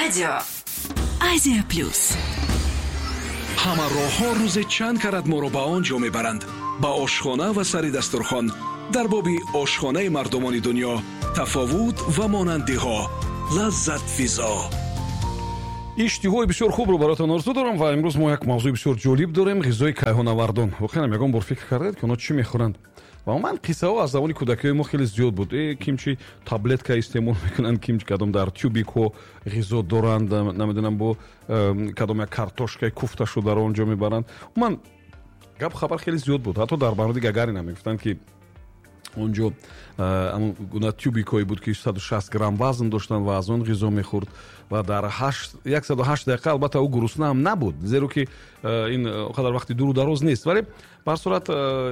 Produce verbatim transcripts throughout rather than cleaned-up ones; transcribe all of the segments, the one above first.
Радио Азия Плюс. Ҳама роҳҳо рӯзе чанд карат моро ба он ҷо мебаранд, ба ошхона ва сари дастурхон. Дар боби ошхонаи мардумони дунё, тафовут ва монандиҳо, лаззатфизо. Иштиҳои бисёр хубро бароятон орзу дорам ва имрӯз мо як мавзӯи бисёр ҷолиб дорем: ғизои кайҳонавардон. Воқеан, ягон бор фикр кардаед, ки онҳо чӣ мехӯранд? Ва умуман қиссаҳо аз замони кӯдакиҳои мо хеле зиёд буд. Э, ким чи таблетка истеъмол мекунанд, ким кадом дар тюбикҳо ғизо доранд, намедонам, бо кадом як картошкаи куфта шударо он ҷо мебаранд. Умуман гапу хабар хеле зиёд буд. Ҳатто дар мавриди Гагарин ҳам мегуфтанд, ки он ҷо ҳамон гуна тюбикҳое буд, ки саду шаст грамм вазн доштанд ва аз он ғизо мехӯрд ва дар яксаду ҳашт дақиқа албатта ӯ гурусна ҳам набуд, зеро ки ин қадар вақти дуру дароз нест, вале ба ҳар сурат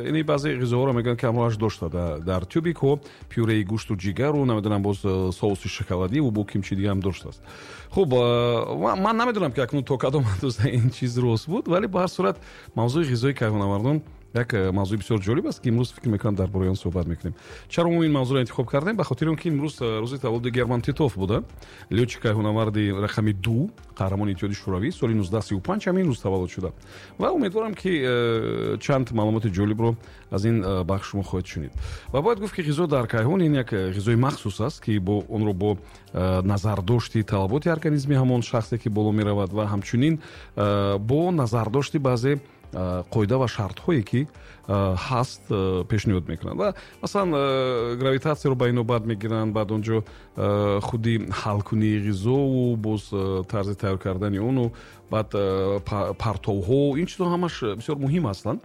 ини баъзе ғизоҳоро мегӯянд, ки ҳамроҳаш дошта дар тюбикҳо пюреи гӯшту ҷигару, намедонам, боз соуси шоколадиву бо кимчи дига ҳам доштааст. Хуб, ман намедонам, ки акнун то кадом андоза ин чиз рост буд, вале ба ҳар сурат мавзӯи ғизои кайҳонавардон як мавзӯи бисёр ҷолиб аст, ки имрӯз фикр мекунам, дар бораи он суҳбат мекунем. Чаро мо ин мавзӯро интихоб кардем? Ба хотири он ки имрӯз рӯзи таваллуди Герман Титов буда, лётчик кайҳонаварди рақами ду, қаҳрамони Иттиҳоди Шӯравӣ, соли нуздаҳ сию панҷ ҳамин рӯз таваллуд шуда. Ва умедворам, ки э, чанд маълумоти ҷолибро аз ин э, бахш шумо хоҳед шунид. Ва бояд гуфт, ки ғизо дар кайҳон ин як ғизои махсус аст, ки бо онро бо э, назардошти талаботи организми ҳамон шахсе, ки боло меравад, ва ҳамчунин бо назардошти баъзе қоида ва шартҳое, ки ҳаст, пешниҳод мекунанд. Ва масалан, гравитатсияро ба инобат мегиранд, баъд он ҷо худи ҳалкунии ғизову боз тарзи тайёр кардани ону баъд партовҳо, ин чизҳо ҳамаш бисёр муҳим ҳастанд.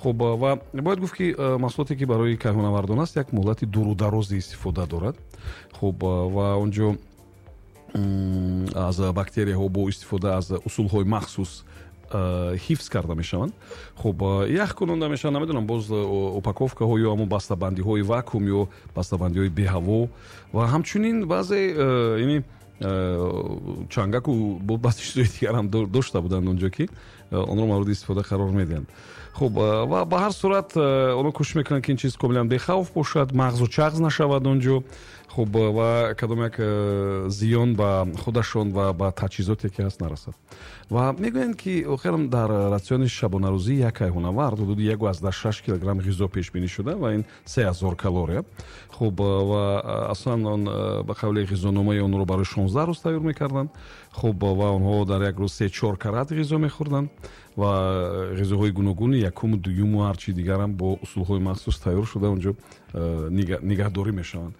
Хуб, ва бояд гуфт, ки маҳсулоте, ки барои кайҳонавардон аст, як муҳлати дуру дарози истифода дорад. Хуб, ва он ҷо аз бактерияҳо бо истифода аз усулҳои махсус ҳифз карда мешаванд. Хуб, ях кунонда мешаванд, намедонам, боз упаковкаҳо ё ҳамон бастабандиҳои вакуум ё бастабандиҳои беҳаво ва ҳамчунин баъзе ини чангаку баъзе чизҳои дигарам дошта буданд онҷо, ки онро мавриди истифода қарор медиҳанд. Хуб, ва ба ҳар сурат онҳо кӯшиш мекунанд, ки ин чиз комилан бехавф бошад, мағзу чағз нашавад он ҷо. Хуб, ва кадом як зиён ба худашон ва ба таҷҳизоте, ки ҳаст, нарасад. Ва мегӯянд, ки охирам дар ратсиони шабонарӯзӣ як кайҳонавард ҳудуди яку аздаҳ шаш килограмм ғизо пешбинӣ шуда ва ин се ҳазор калория. Хуб, ва аслан он ба қавли ғизономаи онро барои шонздаҳ рӯз тайёр мекарданд. Хуб, ва онҳо дар як рӯз се чор карат ғизо мехӯрданд ва ғизоҳои гуногуни якуму дуюму ҳарчи дигарам бо усулҳои махсус тайёр шуда онҷо нигаҳдорӣ мешаванд.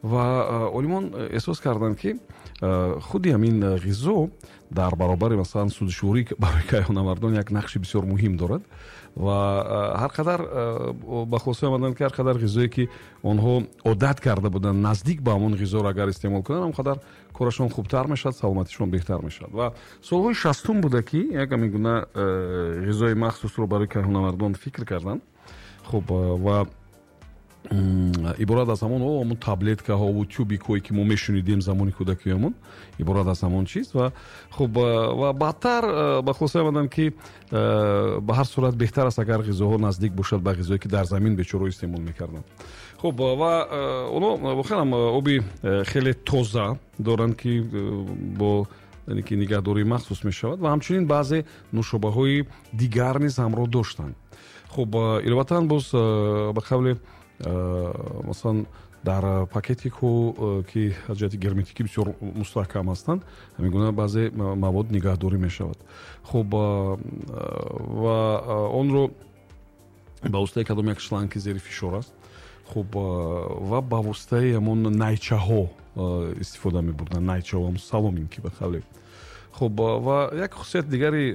Ва олимон эҳсос карданд, ки худи ҳамин ғизо дар баробари, масалан, сӯзишворӣ барои кайҳонавардон як нақши бисёр муҳим дорад. Ва ҳар қадар ба хулоса омаданд, ки ҳар қадар ғизое, ки онҳо одат карда буданд, наздик ба ҳамон ғизоро агар истеъмол кунанд, ҳам қадар корашон хубтар мешавад, саломатишон беҳтар мешавад. Ва солҳои шастум буда, ки як ҳамин гуна ғизои махсусро барои кайҳонавардон фикр карданд. Хуб, ва иборат аз ҳамон ҳамон таблеткаҳову тюбикҳое, ки мо мешунидем замони кӯдакиёмон, иборат аз ҳамон чиз. Ва хуб, ва баъдтар ба хулоса омаданд, ки ба ҳар сурат беҳтар аст, агар ғизоҳо наздик бошад ба ғизое, ки дар замин бечораҳо истеъмол мекарданд. Хуб, ва онҳо воқеан оби хеле тоза доранд, ки бо яъне ки нигаҳдории махсус мешавад, ва ҳамчунин баъзе нӯшобаҳои дигар низ ҳамроҳ доштанд. Хуб, иловатан боз ба қавли, масалан, дар пакетикҳо, ки аз ҷиҳати герметикӣ бисёр мустаҳкам ҳастанд, ҳамин гуна баъзе мавод нигаҳдорӣ мешавад. Хуб, ва онро ба воситаи кадом як шланг, ки зери фишор аст, хуб, ва ба воситаи ҳамон найчаҳо истифода мебурданд, найчаҳо, ҳамон соломинки ба қавле. Хуб, ва як хусусияти дигари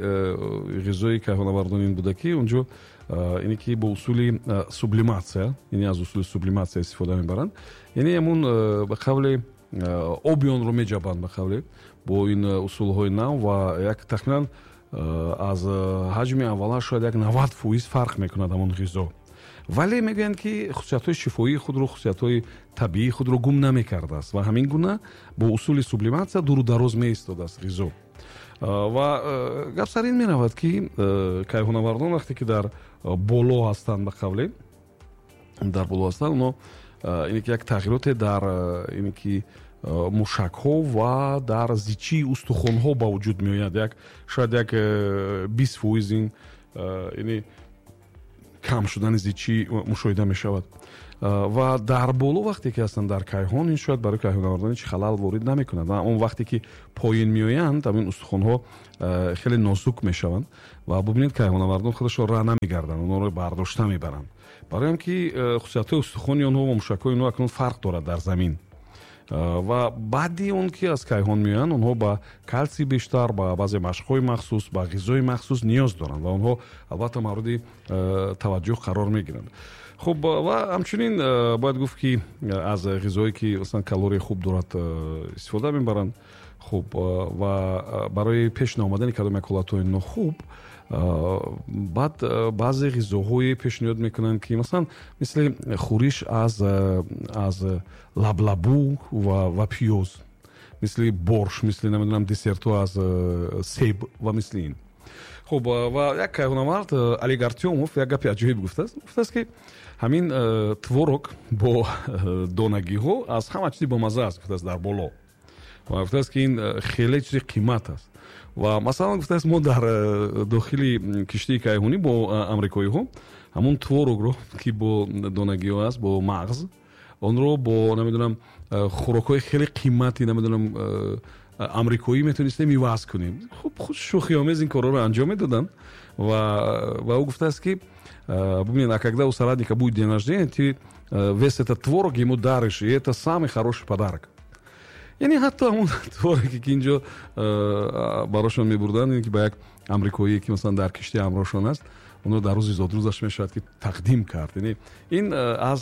ғизои кайҳонавардон ин буда, ки онҷо ине ки бо усули сублиматсия, яъне аз усули сублиматсия истифода мебаранд, яъне ҳамон ба қавле оби онро меҷабанд, ба қавле, бо ин усулҳои нав, ва як тахминан аз ҳаҷми аввала шояд як навад фоиз фарқ мекунад ҳамон ғизо, вале мегӯянд, ки хусусиятҳои шифоии худро, хусусиятҳои табиии худро гум намекардааст ва ҳамин гуна бо усули сублиматсия дуру дароз меистодааст ғизо. Ва гап сар ин меравад, ки кайҳонавардон вақте ки дар боло ҳастанд, ба қавле дар боло ҳастанд, онҳо ине ки як тағйироте дар ине ки мушакҳо ва дар зичии устухонҳо ба вуҷуд меояд. Як шояд як бист фоиз ин яъне кам шудани зичӣ мушоҳида мешавад. Ва дар боло вақте ки ҳастанд дар кайҳон, ин шояд барои кайҳоннавардон ҳеҷ халал ворид намекунад. Ва он вақте ки поён меоянд, ҳамин устухонҳо хеле нозук мешаванд ва бубинед, кайҳоннавардон худашон роҳ намегарданд, онҳоро бардошта мебаранд, барои он ки хусусиятҳои устухони онҳо ва мушакҳои онҳо акнун фарқ дорад дар замин. Ва баъди он ки аз кайҳон меоянд, онҳо ба калсий бештар, ба баъзе машқҳои махсус, ба ғизои махсус ниёз доранд ва онҳо албатта мавриди таваҷҷӯҳ қарор мегиранд. Хуб, ва ҳамчунин бояд гуфт, ки аз ғизое ки масалан калорияи хуб дорад истифода мебаранд. Хуб, ва барои пеш наомадани кадом як ҳолатҳои нохуб баъд баъзе ғизоҳое пешниҳод мекунанд, ки масалан мисли хӯриш аз аз лаблабу ва ва пиёз, мисли борш, мисли намедонам десертҳо аз себ ва мисли ин. Хуб, ва як кайҳонавард Олег Артёмов як гапи аҷоиб гуфтааст. Гуфтааст, ки ҳамин творог бо донагиҳо аз ҳама чизи бомазза аст, гуфтааст, дар боло. Ва гуфтааст, ки ин хеле чизи қимат аст. Ва масалан гуфтааст, мо дар дохили киштии кайҳонӣ бо амрикоиҳо ҳамон творогро, ки бо донагиҳо аст, бо мағз, онро бо намедонам хӯрокҳои хеле қимати намедонам амрикоӣ метавонистем иваз кунем. Хуб, худ шӯхиомез ин корҳоро анҷом медоданд. Ва ва ӯ гуфтааст, ки бубинед, а когда у соратника будет день рождения, ты весь этот творог ему даришь, и это самый хороший подарок. Яъне ҳатто ҳамон твороге, ки инҷо барошон мебурданд, ки ба як амрикоие, ки масалан дар киштӣ ҳамроҳшон аст, онро дар рӯзи зодрӯзаш мешавад, ки тақдим кард. Яъне ин аз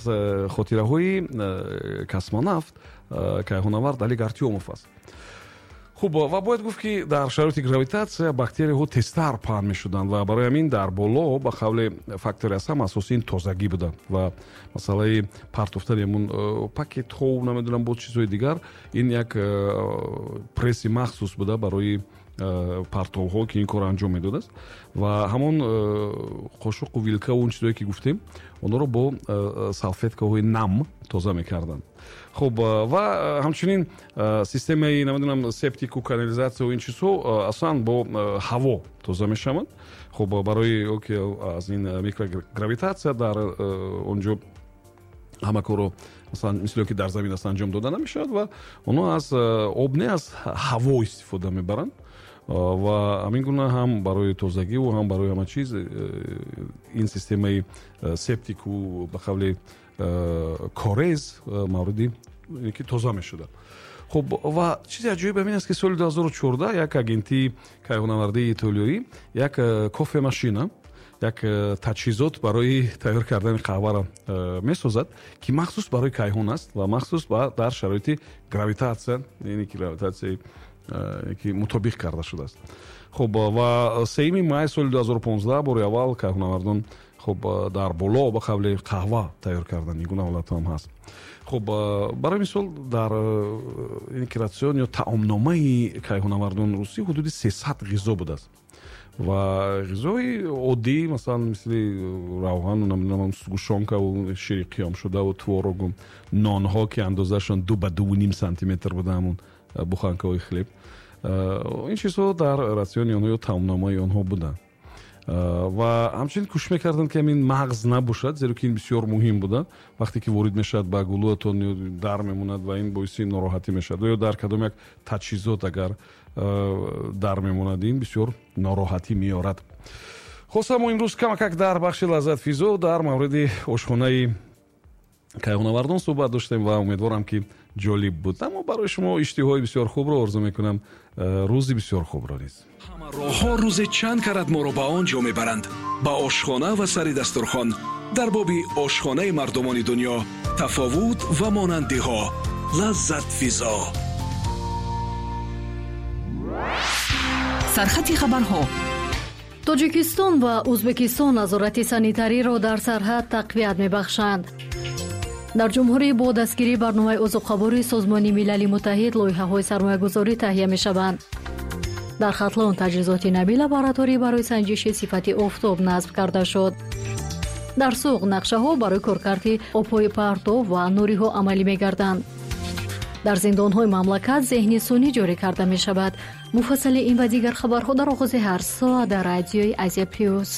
хотираҳои космонавт кайҳонавард Олег Артёмов аст. Хуб, ва бояд гуфт, ки дар шароити гравитатсия бактерияҳо тезтар паҳн мешуданд ва барои ҳамин дар боло ба қавли фактори аз ҳама асосӣ ин тозагӣ буда ва масъалаи партофтани ҳамун пакетҳо, намедонам, боз чизҳои дигар, ин як пресси махсус буда барои партовҳо, ки ин корро анҷом медодааст. Ва ҳамон қошуқу вилкаву он чизҳое, ки гуфтем, онҳоро бо салфеткаҳои нам тоза мекарданд. Хуб, ва ҳамчунин системаи намедонам септику канализатсияву ин чизҳо аслан бо ҳаво тоза мешаванд. Хуб, барои он ки аз ин микрогравитатсия дар он ҷо ҳама корро масалан мисли он ки дар замин аст анҷом дода намешавад ва онҳо аз об не, аз ҳаво истифода мебаранд. Ва ҳамин гуна ҳам барои тозагиву ҳам барои ҳама чиз ин системаи септику ба қавли корез мавриди ки тоза мешуда. Хуб, ва чизи аҷоиб ҳамин аст, ки соли ду ҳазору чордаҳ як агентии кайҳонавардии итолиёӣ як кофемашина, як таҷҳизот барои тайёр кардани қаҳваро месозад, ки махсус барои кайҳон аст ва махсус дар шароити гравитатсия, яъне ки гравитатсияи ки мутобиқ карда шудааст. Хуб, ва сеюми май соли ду ҳазору понздаҳ бори аввал кайҳонавардон, хуб, дар боло ба қавли қаҳва тайёр кардан. Ин гуна ҳолатҳо ҳам ҳаст. Хуб, барои мисол, дар ин рацион ё таомномаи кайҳонавардон русӣ ҳудуди сесад ғизо будааст ва ғизои оддӣ, масалан мисли равғану намедонам сгущёнкаву шири қиёмшудаву творогу нонҳо, ки андозаашон ду ба дуву ним сантиметр буда, ҳамун буханкаҳои хлеб, ин чизҳо дар ратсиони онҳо ё таомномаи онҳо буданд. Ва ҳамчунин кӯшиш мекарданд, ки ҳамин мағз набошад, зеро ки ин бисёр муҳим буда. Вақте ки ворид мешавад ба гулӯятон дар мемонад ва ин боиси нороҳатӣ мешавад, ё дар кадом як таҷҳизот агар дар мемонад, ин бисёр нороҳатӣ меорад. Хоса, мо имрӯз камакак дар бахши Лаззат физо дар мавриди ошхонаи кайҳонавардон суҳбат доштем ва умедворам, ки ҷолиб буд. Аммо барои шумо иштиҳои бисёр хубро орзу мекунам, рӯзи бисёр хубро низ. Ҳама роҳҳо рӯзе чанд карат моро ба он ҷо мебаранд, ба ошхона ва сари дастурхон. Дар боби ошхонаи мардумони дунё, тафовут ва монандиҳо. Лаззат физо. Сархати хабарҳо. Тоҷикистон ва Ӯзбекистон назорати санитариро дар сарҳад тақвият мебахшанд. Дар ҷумҳурӣ бо дастгирии барномаи озуқавории Созмони Милали Муттаҳид лоиҳаҳои сармоягузорӣ таҳия мешаванд. Дар Хатлон таҷҳизоти нави лабораторӣ барои санҷиши сифати офтоб насб карда шуд. Дар Суғд нақшаҳо барои коркарди обҳои партов ва нуриҳо амалӣ мегарданд. Дар зиндонҳои мамлакат зеҳни сунъӣ ҷорӣ карда мешавад. Муфассали ин ва дигар хабарҳо дар оғози ҳар соат дар радиои Азия Плюс.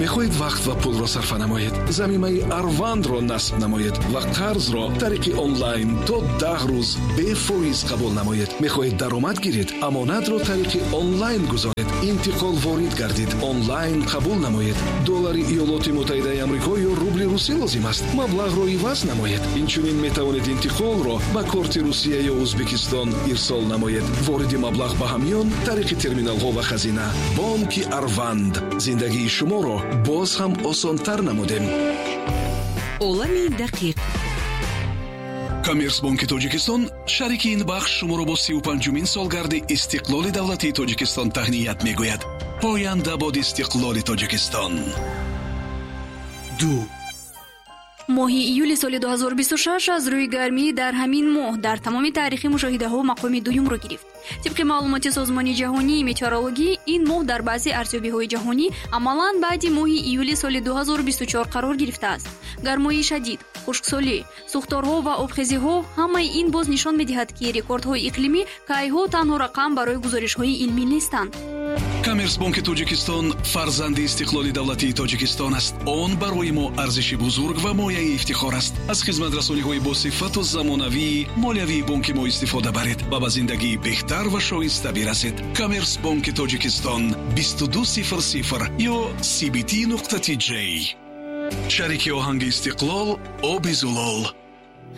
Мехоҳед вақт ва пулро сарфа намоед? Замимаи Арвандро насб намоед ва қарзро тариқи онлайн то даҳ рӯз бефоиз қабул намоед. Мехоҳед даромад гиред? Амонатро тариқи онлайн гузоред. Интиқол ворид гардид, онлайн қабул намоед. Доллари Иёлоти Муттаҳидаи Амрико ё рубли русӣ лозим аст? Маблағро иваз намоед. Инчунин метавонед интиқолро ба корти Русия ё Ӯзбекистон ирсол намоед. Вориди маблағ ба ҳамён тариқи терминалҳо ва хазина. Бонки Арванд. Зиндагии шуморо боз ҳам осонтар намудем. Олами дақиқ. Коммерсбонки Тоҷикистон шарики ин бахш шуморо бо сию панҷумин солгарди истиқлоли давлатии Тоҷикистон таҳният мегӯяд. Поянда бод истиқлоли Тоҷикистон. Ду. Моҳи июли соли ду ҳазору бисту шаш аз рӯи гармӣ дар ҳамин моҳ дар тамоми таърихи мушоҳидаҳо мақоми дуюмро гирифт. Тибқи маълумоти Созмони ҷаҳонии метеорологӣ, ин моҳ дар баъзе арзёбиҳои ҷаҳонӣ амалан баъди моҳи июли соли ду ҳазору бисту чор қарор гирифтааст. Гармои шадид, хушксолӣ, сӯхторҳо ва обхезиҳо ҳамаи ин боз нишон медиҳад, ки рекордҳои иқлимӣ кайҳо танҳо рақам барои гузоришҳои илмӣ нестанд. Коммерсбонки Тоҷикистон фарзанди истиқлоли давлатии Тоҷикистон аст. Он барои мо арзиши бузург ва мояи ифтихор аст. Аз хизматрасониҳои босифату замонавии молиявии бонки мо истифода баред ва ба зиндагии беҳтар ва шоиста бирасед. Коммерсбонки Тоҷикистон бисту ду сифр сифр ё си би ти нуқта ти ҷей. Шарики оҳанги истиқлол оби зулол.